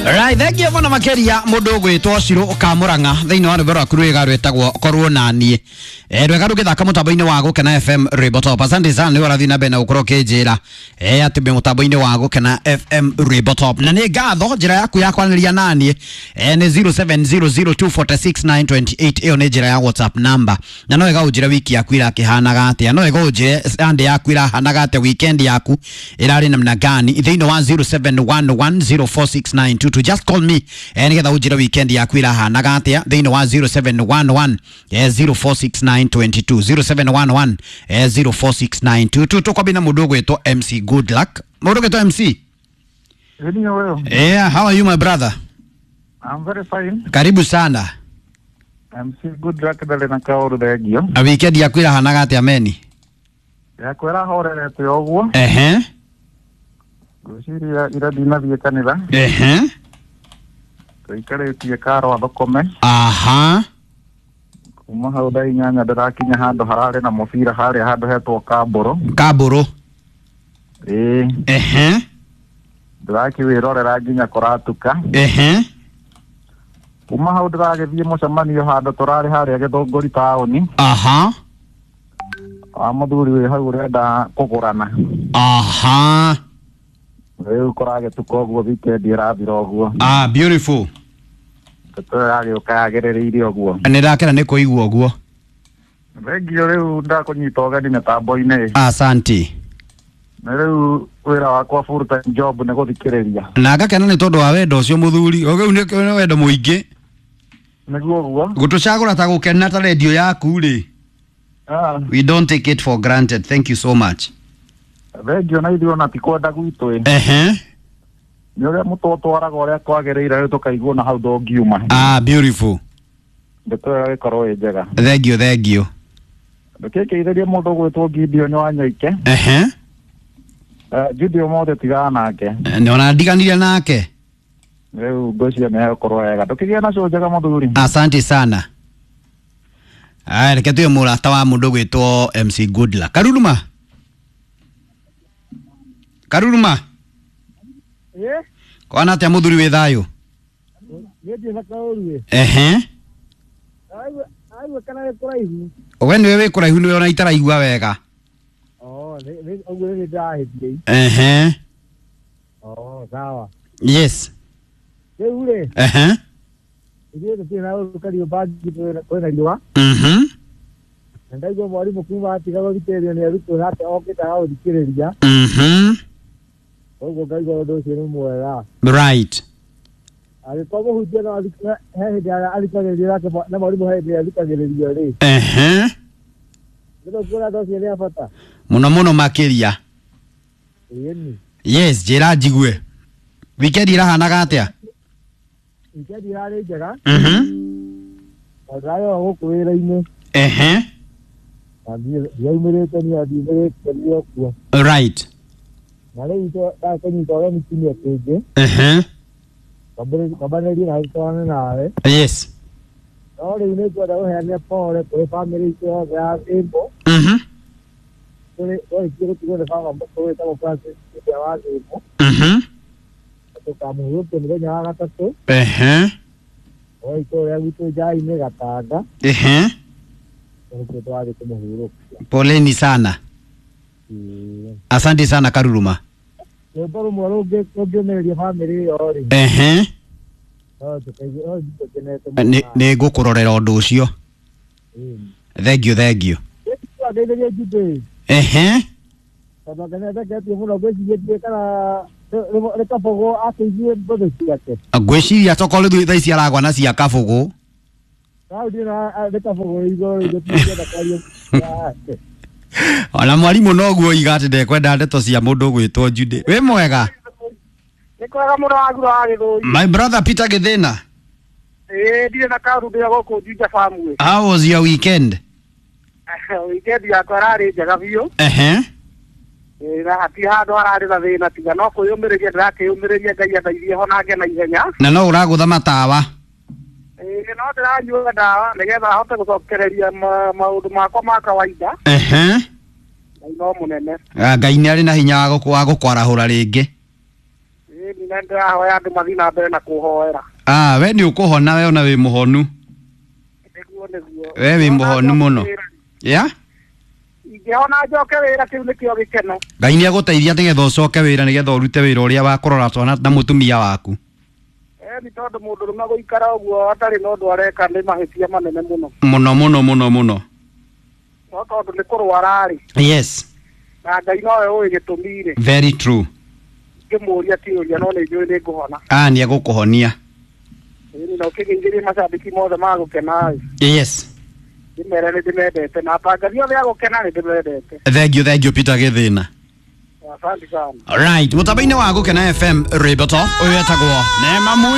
Right, thank you mũno makĩria mũndũ ũgwĩtwo Ciro Kamũrang'a thĩinĩ wa rwĩmbo rwaku rwĩga rwĩtagwo korwo naniĩ. Rwega rũgĩthaka mũtambo-inĩ wa Gũkena FM Rwĩmbo Top. Asante sana nĩ ũrathiĩ na mbere na gũkorwo ũkĩnjĩra atĩ wĩ mũtambo-inĩ wa Gũkena FM Rwĩmbo Top. Na nĩ ngatho njĩra yaku ya kwaranĩria naniĩ nĩ 0700246928 ĩyo nĩ njĩra ya WhatsApp number. Na no wega ũnjĩre wiki yaku irakĩhanaga atĩa, no wega ũnjĩre Sunday yaku irahanaga atĩa, weekend yaku ĩrarĩ namna gani thĩinĩ wa 0711046922. Just call me nĩgetha ũnjĩre weekend yaku irahanaga atĩa thĩinĩ wa 0711 046922 0711 046922. Tũkwambia na mũndũ ũgwĩtwo MC Good Luck. Mũndũ ũgwĩtwo MC. Anyway, Yeah, how are you my brother? I'm very fine. Karibu sana. MC Good Luck ndarĩ na kaũndũ thengio. Na weekend yaku irahanaga atĩa meni? Yakwa ĩrahorerete o ũguo. Ehe. Ngwĩciria ira ndinathiĩ kanitha. Ehe. Tũikarĩtie karo athũkũme. Aha. Kuma hau thaa inyanya ndĩrakinya handũ hararĩ na mũbira harĩa handũ hetwo Kambũrũ. Kambũrũ. Ĩĩ. Ehe. Ndĩrakĩwĩrorera nginya kũratuka. Ehe. Kuma hau ndĩragĩthiĩ mũcemanio handũ tũrarĩ harĩa Gĩthũngũri taũni. Aha. Wa mũthuri wĩ hau ũrenda kũgũrana. Aha. Rĩu kũragĩtuka ũguo weekend ĩrathira ũguo. Ah, beautiful. Ndeto ĩyo yagĩũka yagĩrĩrĩire ũguo. Nĩ ndakena nĩ kũigua ũguo. Thengio rĩu ndakũnyita ũgeni mĩtambo-inĩ. Asante. Na rĩu wĩra wakwa full time job nĩ gũthikĩrĩria. Na ngakena nĩ tondũ wa wendo ũcio mũthuri. Ũguo nĩ wendo mũingĩ. Nĩguo ũguo. Gũtũcagũra ta gũkena ta redio yaku rĩ. Ah, We don't take it for granted. Thank you so much. thengio na ithuĩ ona ti kwenda gwitũ ĩ. Ehe. Nĩ ũrĩa mũtũtwaraga ũrĩa kwagĩrĩire rĩu tũkaigua na hau ndũngiuma. Ah, beautiful. Ndeto ĩyo ĩgĩkorwo ĩ njega. Thank you, thank you. Ndũkĩngeithĩrie mũndũ ũgwĩtwo Gideon wa Nyoike. Ehe. Judy ũmũthĩ tigana nake. Nĩ ona ndiganire nake. Rĩu ngwĩciria nĩ egũkorwo wega. Ndũkĩgĩe na cũ njega mũthuri. Asante sana. Aya, reke tuye mũrata wa mũndũ gwĩtwo MC Goodluck. Karuruma. Karuruma. Ĩ, Kwana atĩa mũthuri wĩ thayũ? niĩ ndirĩ na kaũru ĩ. Ehe. Aigua kana nĩ kũraihu. We nĩwe wĩ kũraihu nĩwe ona itaraigua wega. Oh, ũguo nĩ ndahĩtie. Ehe. Oh, sawa. Yes. Rĩu rĩ, Ehe. ithuĩ tũtirĩ na ũru Kariobangi kwĩna riũa. Mhm. Na ndaigua mwarimũ kuma atiga gũthikĩrĩrio nĩ arutwo nake okĩte agagũthikĩrĩria. Mhm. Koguo ngaigua ũndũ ũcio nĩ mwega. Right. Angĩkorwo mũhunjia no he hĩndĩ athikagĩrĩrio nake na mwarimũ he hĩndĩ athikagĩrĩrio rĩ. Ehe. Nĩ kuona andũ acio nĩ a bata. Mũno mũno makĩria. Ĩni. Yes, njĩra njigue. Weekend irahanaga atĩa? Wikendi ĩrarĩ njega. Mhm. Na ndĩrarĩ o gũkũ wĩra-inĩ. Ehe. Na ndiaumĩrĩte niĩ ndiumĩrĩte niĩ o kuo. Right. Na rĩu ndakũnyita ũgeni kiumia kĩngĩ. Ehe. Kwambanĩrie na twarane nawe. Yes. No rĩu nĩ ngwenda gũheana pole kũrĩ bamĩrĩ itũ yothe ya Thĩmbũ. Mhm. Twarĩkia gũtigwo nĩ baba mũkũrũ wĩtagwo Francis ũrĩa wa Thĩmbũ. Mhm. Tũkamũhurũkia mũthenya wa gatatũ. Ehe. O itũũra gwitũ Njainĩ Gatanga. Ehe. Nĩkuo tũrathiĩ kũmũhurũkia. Poleni sana. Ĩĩ. Asante sana Karuruma. Rwĩmbo rũmwe rũngĩũmĩrĩria bamĩrĩ ĩyo rĩ, Ehe. no tũkaigua no tũkenete mũno. Nĩ ngũkũrorera ũndũ ũcio. Ĩĩ. Thank you, thank you. Ngeithĩrie Judy. Ehe. Tondũ ngendeketie mũno ngwĩciria ndiũĩ kana nĩ Kabũgũ akĩigue mbũthũ ciake. Ngwĩciria tokorwo rĩu thaa ici aragwa na cia Kabũgũ. Rau ndiũĩ na nĩ Kabũgũ igũrũ rĩu tũtingĩenda kwaria yake. Ona mwarimũ noguo oiga atĩ ndekwenda ndeto cia mũndũ ũgwĩtwo Judy. Wĩ mwega? Nĩ kwega mũno wagura wa Gĩthũi. My brother Peter Gĩthĩna. Ĩĩ ndirĩ na kaũndũ ndĩ gũkũ Juja Farm. How was your weekend? Weekend yakwa ĩrarĩ njega biũ. Ehe. Ĩĩ na hatirĩ handũ hararĩ na thĩna tiga no kwĩyũmĩrĩria ndĩrakĩyũmĩrĩria Ngai andeithie honange na ihenya. Na no ũragũtha matawa. Ĩĩ no ndĩranyua ndawa nĩgetha hote gũcokereria maũndũ makwa ma kawaida. Ehe. Ngai no mũnene. Ah, Ngai nĩ arĩ na hinya wa gũkwarahũra rĩngĩ. Ĩĩ Ĩni na ndĩrahoya andũ mathiĩ na mbere na kũhoera. Ah, we nĩ ũkũhona, we ona wĩ mũhonu. Nĩguo nĩguo. We wĩ mũhonu mũno. Ya. Ingĩhona njoke wĩra, kĩu nĩkĩo gĩkeno. Ngai nĩ agũteithia nĩgetha ũcoke wĩra, nĩgetha ũrute wĩra ũrĩa wa kũrora twana na mũtumia waku. Ĩni tondũ mũndũrũme gũikara ũguo atarĩ na ũndũ areka nĩ mahĩtia manene mũno. Mũno mũno mũno mũno. No tondũ nĩ kũrwara-rĩ, Yes. na Ngai nowe ũĩ gĩtũmi-rĩ, Very true. ngĩmũria kĩũria no nĩ njũĩ nĩ ngũhona. Ah, nĩ egũkũhonia. Ĩni na ũkĩgeithĩrie macambĩki mothe ma gũkena-ĩ, Yes. ndĩmere nĩ ndĩmendete na atangathi othe a gũkena nĩ ndĩmendete. Thank you, thank you, Peter Gĩthĩna. Asante sana. Alright, mũtambo-inĩ wa Gũkena FM, rwĩmbo to ũyũ etagwo Neema Mwisho.